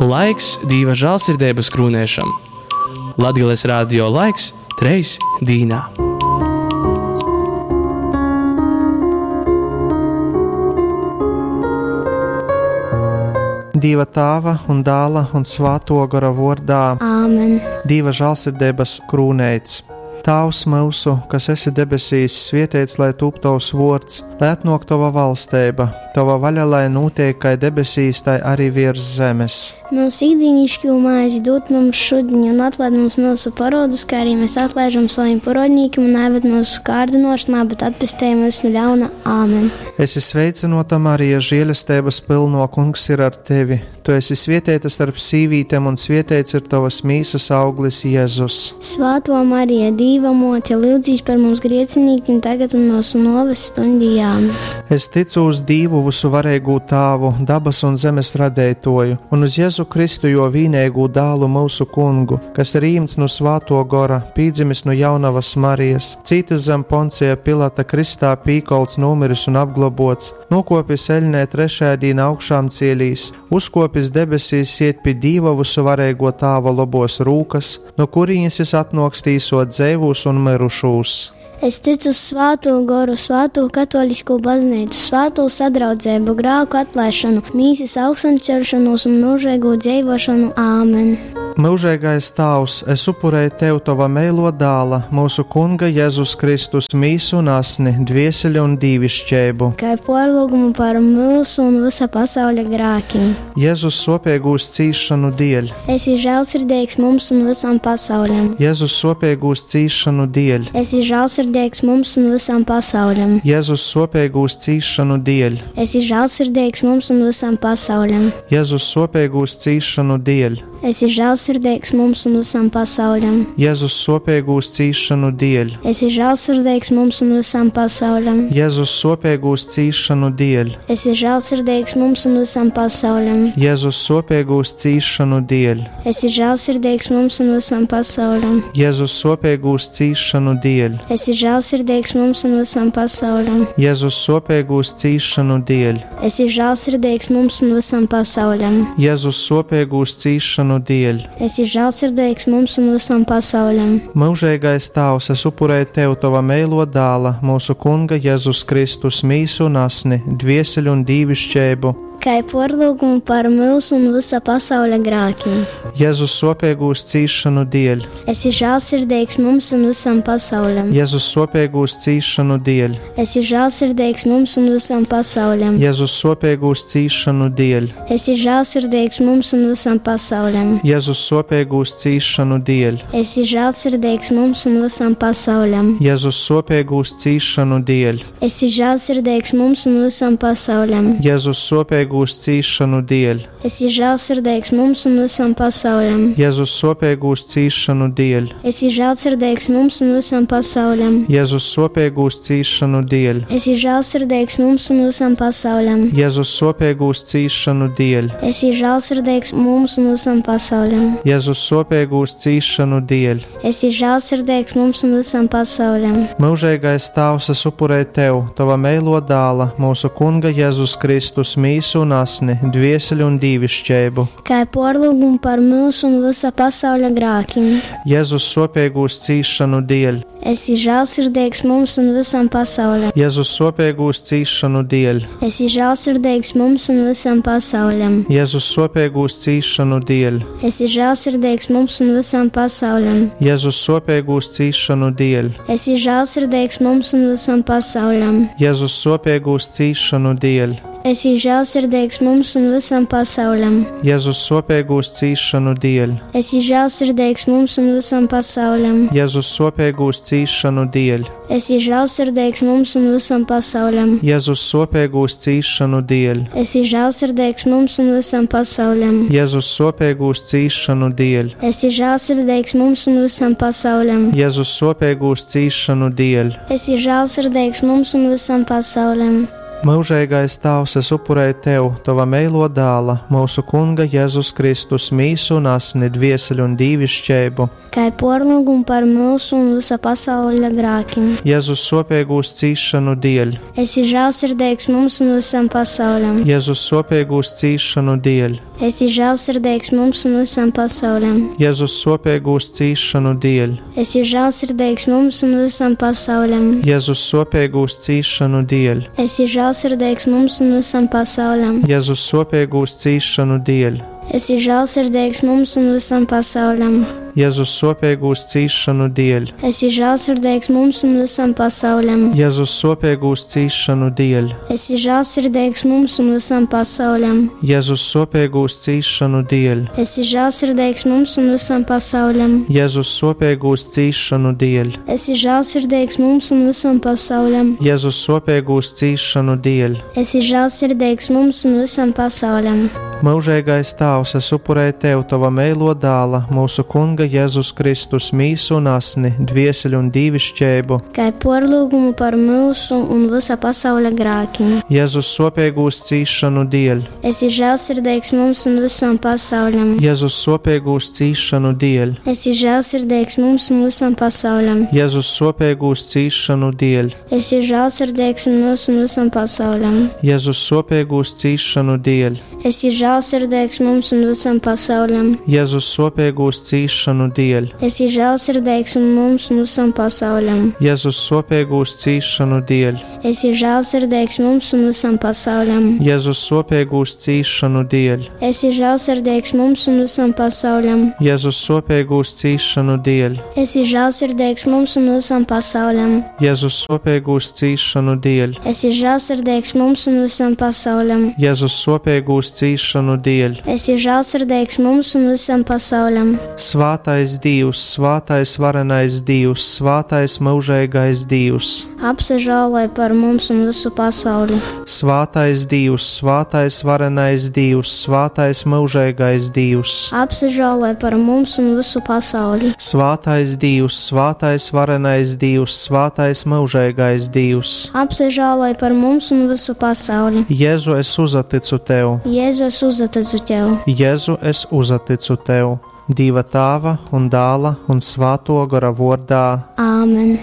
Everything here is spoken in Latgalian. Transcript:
Laiks Dīva žālsirdeibas krūnēšam. Latgales radio laiks treis dīnā. Dīva Tāva un Dāla un Svāto Gora vordā. Āmen. Dīva žālsirdeibas krūneits. Tāvs mūsu, kas esi debesīs, svietēts lai tūp tavs vords, lai atnok tava valsteiba, tava vaļa lai notiek kai debesīs, tai arī virs zemes. Mūsu ikdienišķo maizi dod mums šodien, un atlaid mums mūsu parodus, kā arī mēs atlaižam saviem parodnīkiem, un neved mūsu kārdinošanā, bet atpestī mūs no ļauna. Āmen. Esi sveicinota Marija, žēlestības pilno kungs ir ar tevi. Tu esi svietēta starp sīvītēm, un svietēts ir tavas mīsas auglis Jēzus. Svēto Marija, Dīva mote, lūdzīs par mums griecinīkiem tagad un mūsu noves stundijām. Es ticu uz Dīvu visuvarīgū Tāvu, dabas un zemes radētoju, un uz Jēzu Kristu, jo vīnēgū dālu mūsu kungu, kas ir īmts no svāto gora, pīdzimis no jaunavas Marijas, cītas zem Poncija Pilata kristā pīkolts numiris un apglobots, nokopis eļnē trešajā dīnā augšām cielīs, uzkopis debesīs iet pie Dīva visuvarīgo Tāva lobos rūkas, no kurienes jis atnoks tīsot dzēvūs un mirušūs. Es ticu uz svāto goru, svāto katolisko baznīcu, svāto sadraudzību, grāku atlaišanu, mīsas augšancelšanos un mūžīgo dzīvošanu. Āmen! Mūžīgais Tēvs, es upurēju Tev Tava meilo dāla, mūsu Kunga Jēzus Kristus mīsu un asni, dvieseli un dīvišķēbu. Kā porlūgumu par mūsu un visa pasaules grākiem. Jēzus sopīgūs cīšanu dēļ, Esi žēlsirdīgs mums un visam pasaulim. Jēzus sopīgūs cīšanu dēļ, Esi žēlsirdīgs mums un visam pasaulim. Jēzus sopīgūs cīšanu dēļ, Esi žēlsirdīgs mums un visam pasaulim. Jēzus sopīgūs cīšanu dēļ, Esi žēlsirdīgs mums un visam pasaulim. Jēzus sopīgūs cīšanu dēļ, Esi žēlsirdīgs mums un visam pasaulim. Jēzus sopīgūs cīšanu dēļ, Esi žēlsirdīgs mums un visam pasaulim. Jēzus sopīgūs cīšanu dēļ, Esi žēlsirdīgs mums un visam pasaulim. Jēzus sopīgūs cīšanu dēļ, Esi žēlsirdīgs mums un visam pasaulim. Jēzus sopīgūs cīšanu dēļ, Esi žēlsirdīgs mums un visam pasaulim. Jēzus sopīgūs cīšanu dēļ. Esi žēlsirdīgs mums un visam pasaulim. Mūžīgais Tēvs, es upurēju Tev Tava meilo dāla, mūsu Kunga Jēzus Kristus mīsu un asni, dvieseli un dīvišķēbu. Kā porlūgumu par mūsu un visa pasaules grākiem. Jēzus sopīgūs cīšanu dēļ, Esi žēlsirdīgs mums un visam pasaulim. Jēzus sopīgūs cīšanu dēļ, Esi žēlsirdīgs mums un visam pasaulim. Jēzus sopīgūs cīšanu dēļ, Esi žēlsirdīgs mums un visam pasaulim. Jēzus sopīgūs cīšanu dēļ, Esi žēlsirdīgs mums un visam pasaulim. Jēzus sopīgūs cīšanu dēļ, Esi žēlsirdīgs mums un visam pasaulim. Jēzus sopīgūs cīšanu dēļ, Esi žēlsirdīgs mums un visam pasaulim. Jēzus sopīgūs cīšanu dēļ, Esi žēlsirdīgs mums un visam pasaulim. Jēzus sopīgūs cīšanu dēļ, Esi žēlsirdīgs mums un visam pasaulim. Jēzus sopīgūs cīšanu dēļ, Esi žēlsirdīgs mums un visam pasaulim. Jēzus sopīgūs cīšanu dēļ. Esi žēlsirdīgs mums un visam pasaulim. Mūžīgais Tēvs, es upurēju Tev, Tava meilo dāla, mūsu Kunga Jēzus Kristus mīsu un asni, dvieseli un dīvišķēbu. Kā porlūgumu par mūsu un visa pasaules grākiem. Jēzus sopīgūs cīšanu dēļ, Esi žēlsirdīgs mums un visam pasaulim. Jēzus sopīgūs cīšanu dēļ, Esi žēlsirdīgs mums un visam pasaulim. Jēzus sopīgūs cīšanu dēļ, Esi žēlsirdīgs mums un visam pasaulim. Jēzus sopīgūs cīšanu dēļ, Esi žēlsirdīgs mums un visam pasaulim. Jēzus sopīgūs cīšanu dēļ, Esi žēlsirdīgs mums un visam pasaulim. Jēzus sopīgūs cīšanu dēļ, Esi žēlsirdīgs mums un visam pasaulim. Jēzus sopīgūs cīšanu dēļ, Esi žēlsirdīgs mums un visam pasaulim. Jēzus sopīgūs cīšanu dēļ, Esi žēlsirdīgs mums un visam pasaulim. Jēzus sopīgūs cīšanu dēļ, Esi žēlsirdīgs mums un visam pasaulim. Jēzus sopīgūs cīšanu dēļ. Esi žēlsirdīgs mums un visam pasaulim. Myužeigais Tāvs, es upurēju Tev, Tova meilo dāla, mūsu Kunga Jēzus Kristus mīsu un asni, dvieseli un dīvišķeibu. Kai porlūgumu par mūsu un visa pasaules grēkiem. Jēzus sopīgūs cīšanu dēļ, Esi žēlsirdīgs mums un visam pasaulim. Jēzus sopīgūs cīšanu dēļ, Esi žēlsirdīgs mums un visam pasaulim. Jēzus sopīgūs cīšanu dēļ, Esi žēlsirdīgs mums un visam pasaulim. Jēzus sopīgūs cīšanu dēļ, Esi žēlsirdīgs mums un visam pasaulim. Jēzus sopīgūs cīšanu dēļ, Esi žēlsirdīgs mums un visam pasaulim. Jēzus sopīgūs cīšanu dēļ, Esi žēlsirdīgs mums un visam pasaulim. Jēzus sopīgūs cīšanu dēļ, Esi žēlsirdīgs mums un visam pasaulim. Jēzus sopīgūs cīšanu dēļ, Esi žēlsirdīgs mums un visam pasaulim. Jēzus sopīgūs cīšanu dēļ, Esi žēlsirdīgs mums un visam pasaulim. Jēzus sopīgūs cīšanu dēļ. Esi žēlsirdīgs mums un visam pasaulim. Mūžīgais Tēvs, es upurēju Tev Tava meilo dāla, mūsu Kunga Jēzus Kristus mīsu un asni, dvieseli un dīvišķeibu, Kai porlūgumu par mūsu un visa pasaules grēkiem. Jēzus sopīgūs cīšanu dēļ, Esi žēlsirdīgs mums un visam pasaulim. Jēzus sopīgūs cīšanu dēļ, Esi žēlsirdīgs mums un visam pasaulim. Jēzus sopīgūs cīšanu dēļ, Esi žēlsirdīgs mums un visam pasaulim. Jēzus sopīgūs cīšanu dēļ, Esi žēlsirdīgs mums un visam pasaulim. Jēzus sopīgūs cīšanu dēļ, Esi žēlsirdīgs un mums un visam pasaulim. Jēzus sopīgūs cīšanu dēļ, Esi žēlsirdīgs mums un visam pasaulim. Jēzus sopīgūs cīšanu dēļ, Esi žēlsirdīgs mums un visam pasaulim. Jēzus sopīgūs cīšanu dēļ, Esi žēlsirdīgs mums un visam pasaulim. Jēzus sopīgūs cīšanu dēļ, Esi žēlsirdīgs mums un visam pasaulim. Jēzus sopīgūs cīšanu dēļ. Esi žēlsirdīgs mums un visam pasaulim. Svātais Dievs, svātais varenais Dievs, svātais mūžīgais Dievs, Apsažālai par mums un visu pasauli. svātais Dievs, svātais varenais Dievs, svātais mūžīgais Dievs, Apsažālai par mums un visu pasauli. svātais Dievs, svātais varenais Dievs, svātais mūžīgais Dievs. Apsažālai par mums un visu pasauli. Jēzu, es uzticu tev, Jēzu, es uzticu tev. Jēzu, es uzticu tev, Dieva tēva un dāla un svāto gara vārdā. Āmen.